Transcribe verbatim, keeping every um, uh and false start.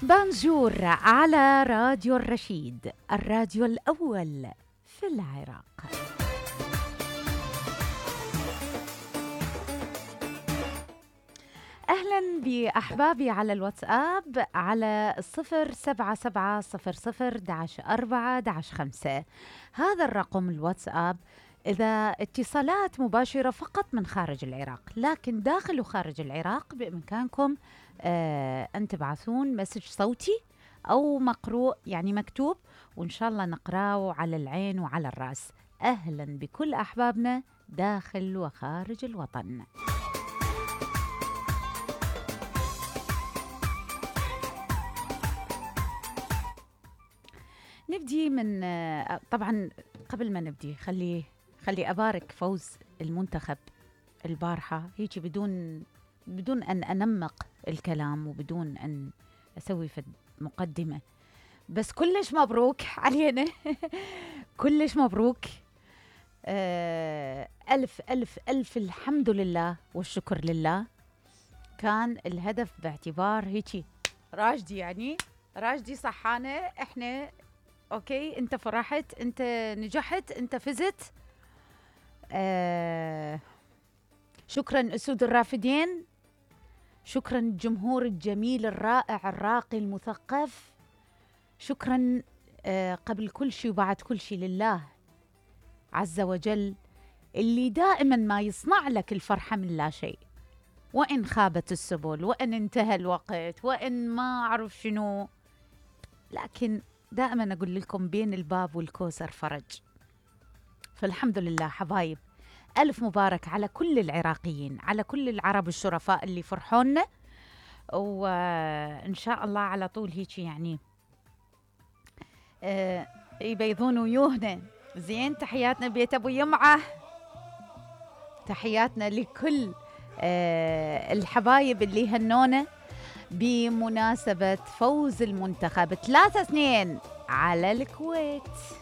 بانجور على راديو الرشيد، الراديو الأول في العراق. أهلا بأحبابي على الواتساب على صفر سبعة سبعة صفر صفر داش أربعة داش خمسة. هذا الرقم الواتساب إذا اتصالات مباشرة فقط من خارج العراق، لكن داخل وخارج العراق بإمكانكم آه أن تبعثون مسج صوتي أو مقروء يعني مكتوب، وإن شاء الله نقرأه على العين وعلى الرأس. أهلا بكل أحبابنا داخل وخارج الوطن. نبدي من طبعا قبل ما نبدي خلي خلي أبارك فوز المنتخب البارحة هيك بدون بدون أن أنمق الكلام وبدون أن أسوي في مقدمة، بس كلش مبروك علينا. كلش مبروك. آه ألف ألف ألف الحمد لله والشكر لله. كان الهدف باعتبار هيك راجدي، يعني راجدي صحانة، احنا اوكي، انت فرحت، انت نجحت، انت فزت. آه شكرا أسود الرافدين، شكرا الجمهور الجميل الرائع الراقي المثقف، شكرا آه قبل كل شيء وبعد كل شيء لله عز وجل اللي دائما ما يصنع لك الفرحة من لا شيء، وإن خابت السبل وإن انتهى الوقت وإن ما أعرف شنو، لكن دائما أقول لكم بين الباب والكوثر فرج. فالحمد لله حبايب، ألف مبارك على كل العراقيين، على كل العرب الشرفاء اللي فرحونا، وإن شاء الله على طول هيك يعني آه يبيضون ويوهنا زين. تحياتنا بيت أبو يمعة، تحياتنا لكل آه الحبايب اللي هنونا بمناسبة فوز المنتخب ثلاثة اثنين على الكويت.